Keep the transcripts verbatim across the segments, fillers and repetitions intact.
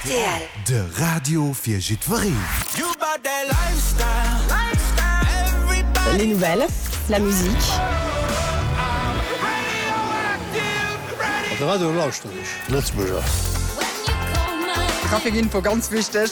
Rtl. De Radio fir jiddwereen. Les nouvelles, la musique. De Radio lauschteren ech, Lëtzebuerger. Traficinfo ganz wichteg,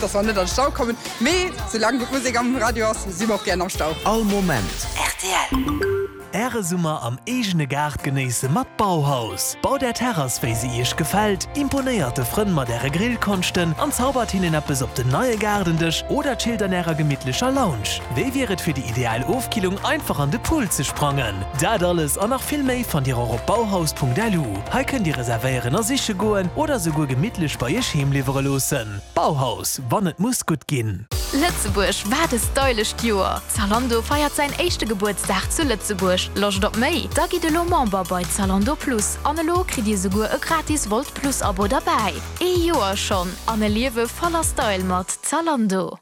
dass mer net an Stau kommen. Mee soulaang gutt Musek am Radio ass, si mer och gären am Stau. All Moment. Rtl. Äre Summer am eegene Gaart genéisse mat Bauhaus. Baut Är Terrass wéi se Iech gefält, imponéiert de Frënn mat Äre Grillkonschten an zaubert hinnen eppes op den neie Gaardendësch oder chillt an Ärer gemittlecher Lounge. Wéi wier et fir déi ideal Ofkillung einfach an de Pool ze sprangen? Dat alles an nach vill méi fannt Dir och op bauhaus.lu. Hei kënnt Dir reservéieren a siche goen oder souguer gemittlech bei Iech heem liwwere loossen. Bauhaus, wann et muss gutt ginn. Lëtzebuerg, wat e stylescht Joer! Zalando feiert säin éischte Gebuertsdag zu Lëtzebuerg. Loscht op méi? Da gitt elo Member bei Zalando Plus an elo kritt Dir souguer e gratis Wolt Plus Abo derbäi. Ee Joer schonn an e Liewe voller Style mat Zalando.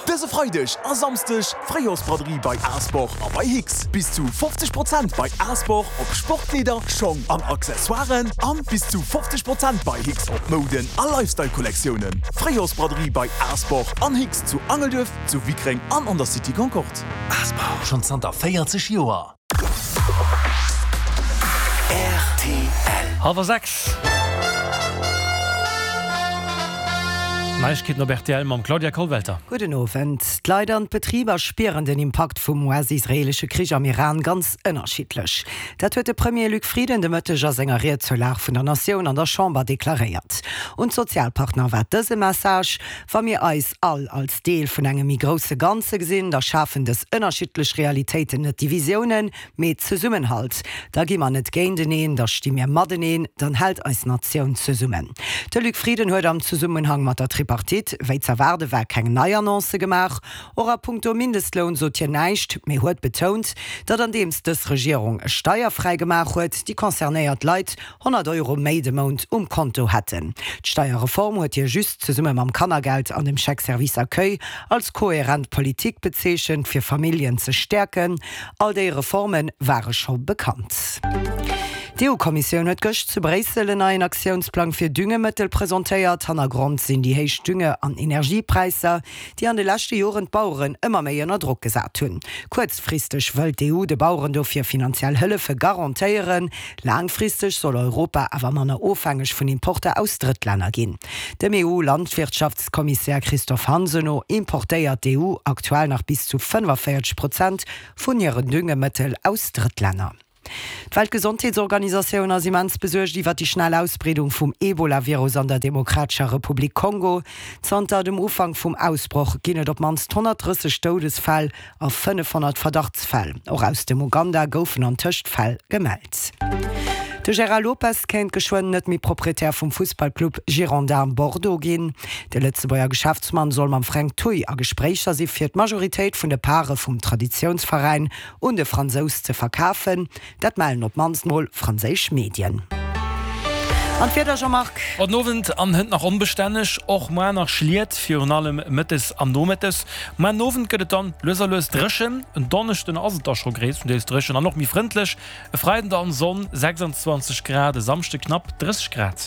Dëse Freideg a Samsdeg Fréijoersbraderie bei Asport a bei Hicks. Bis zu fofzeg Prozent bei Asport op Sportkleeder, Schong an Accessoiren an bis zu fofzeg Prozent bei Hicks op Mouden a Lifestyle-Kollektiounen. Fréijoersbraderie bei Asport an Hicks zu Angelduerf, zu Wickreng an an der City Concorde. Asport. Schonn zanter véierzeg Joer. Rtl. Hallwer sechs. Neiegkeeten op rtl mam Claudia Kollwelter. Gudden Owend. D'Leit an d'Betriber spieren den Impakt vum U S-israeelesche Krich am Iran ganz ënnerschiddlech. Dat huet de Premier Luc Frieden de Mëtteg a senger Ried zur Lag vun der Natioun an der Chamber deklaréiert. Un d'Sozialpartner war dëse Message: Wa mir eis all als Deel vun engem méi grousse Ganze gesinn, da schafen dës ënnerschiddlech Realitéiten net Divisiounen, mee Zesummenhalt. Da gi mer net géinteneen, da sti mir mateneen, dann hält eis Natioun zesummen. De Luc Frieden huet am Zesummenhang mat der Tripartite, wéi z'erwaarde war, keng nei Annoncë gemaach. Och a punkto Mindestloun sot hien näischt, mee huet betount, datt andeems dës Regierung e steierfräi gemaach huet, déi concernéiert Leit honnert Euro méi de Mount um Konto hätten. D'Steierreform huet hie just zesumme mam Kannergeld an dem Chèque Service Accueil als kohärent Politik bezeechent, fir Familljen ze stäerken. All déi Reforme ware scho bekannt. D'EU-Kommissioun huet gëscht zu Bréissel en neien Aktiounsplang fir Düngemëttel presentéiert. Hannergrond sinn déi héich Dünge an Energiepräisser, déi an de leschte Joren d'Baueren ëmmer méi ënner Drock gesat hunn. Kuerzfristeg wëll d'E U de Baueren dofir finanziell Hëllefe garantéieren. Laangfristeg soll Europa awer manner ofhängeg vun Importer aus Drëttlänner ginn. Dem E U-Landwirtschaftskommissär Christophe Hansen no importéiert d'E U aktuell nach bis zu fënnefavéierzeg Prozent vun hiren Düngemëttel aus Drëttlänner. D'Weltgesondheetsorganisatioun ass immens besuergt iwwer déi schnell Ausbreedung vum Ebola-Virus an der Demokratescher Republik Kongo. Zanter dem Ufank vum Ausbroch ginn et op d'mannst honnertdrësseg Doudesfäll a fënnefhonnert Verdachtsfäll. Och aus dem Uganda goufen antëscht Fäll gemellt. De Gérard Lopez kéint geschwënn net méi Proprietär vum Fussballclub Girondins Bordeaux ginn. De Lëtzebuerger Geschäftsmann soll mam Fränk Thuy a Gespréicher si fir d'Majoritéit vun de Pare vum Traditiounsveräin un de Fransous ze verkafen. Dat mellen op d'mannst mol franséisch Medien. An d'Wieder, Jean-Marc? Haut den Owend an hënt nach onbestänneg, och muar nach Schliet, virun allem mëttes an nomëttes. Muar den Owend gëtt et dann lues a lues dréchen. En Donneschden ass et da scho gréisstendeels dréchen an och méi frëndlech. E Freiden dann Sonn, sechsundzwanzeg Grad, e Samschde knapp drësseg Grad.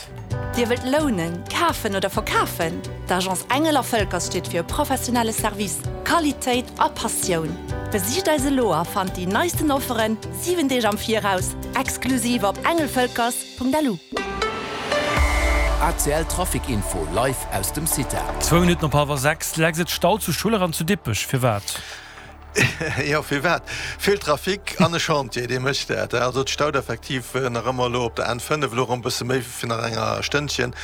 Dir wëllt lounen, kafen oder verkafen? D'Agence Engel a Völkers steet fir e professionelle Service, Qualitéit a Passioun. Besicht eis elo a fannt déi neisten Offeren siwen Deeg am Viraus, exklusiv op engelvölkers Punkt L U. A C L Trafic Info live aus dem Cita. Zwou Minutten op hallwer sechs. Lex, et staut zu Schuller an zu Dippech. Firwat? Jo, firwat? Vill Trafic an e Chantier, dee mécht dat. Also et staut effektiv nach ëmmer elo op der N fënnef elo erëm e bësse méi wéi nach enger Stënnchen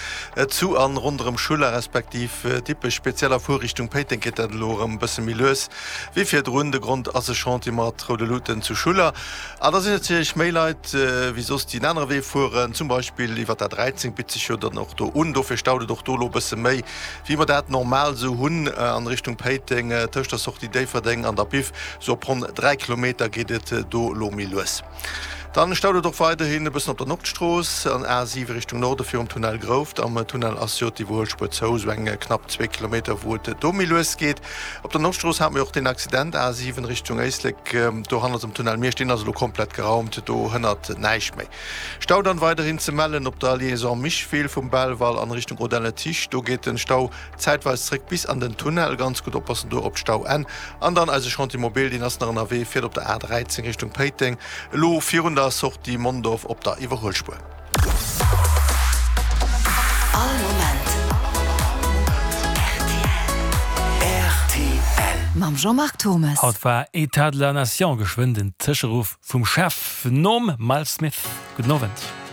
zu an ronderëm Schuller respektiv Dippech. Speziell a Fuerrichtung Péiteng geet dat elo erëm e bësse méi lues wéi virdrun. De Grond ass e Chantier mat roude Luuten zu Schuller. An da sinn natierlech méi Leit wéi soss, déi en anere Wee fueren, zum Beispill iwwer d'A dräizéng, bitt sech jo dann och do un. Dofir staut et och do elo e bësse méi, wéi mer dat normal esou hunn an Richtung Péiteng, tëscht der Sortie Déifferdeng an der Biff, sou op ronn dräi Kilometer geet et do elo méi lues. Dann staut et och weiderhin e bëssen op der Nordstrooss an A siwe Richtung Norde virum Tunnel Grouft. Am Tunnel ass jo d'Iwwerhuelspuer zou, sou eng knapp zwee Kilometer wou et do méi lues geet. Op der Nordstrooss hate mir och deen Accident, A siwen Richtung Éislek, do hannert dem Tunnel Miersch, deen ass elo komplett geraumt, do hënnert näischt méi. Stau dann weiderhin ze mellen op der Liaison Micheville vum Belval an Richtung Audun-le-Tiche, do geet den Stau zäitweis zréck bis an den Tunnel, ganz gutt oppassen do op d'Stauenn. An dann eise Chantier mobile, deen ass nach ënnerwee, fiert op der A dräizéng Richtung Péiteng, elo virun der Sortie Mondorf op der Iwwerhuelspuer. All Moment rtl. Mam Jean-Marc Thommes. Haut war Etat de la Nation, geschwënn den Tëscheruff vum Chef nom Miles Smith. Gudden Owend.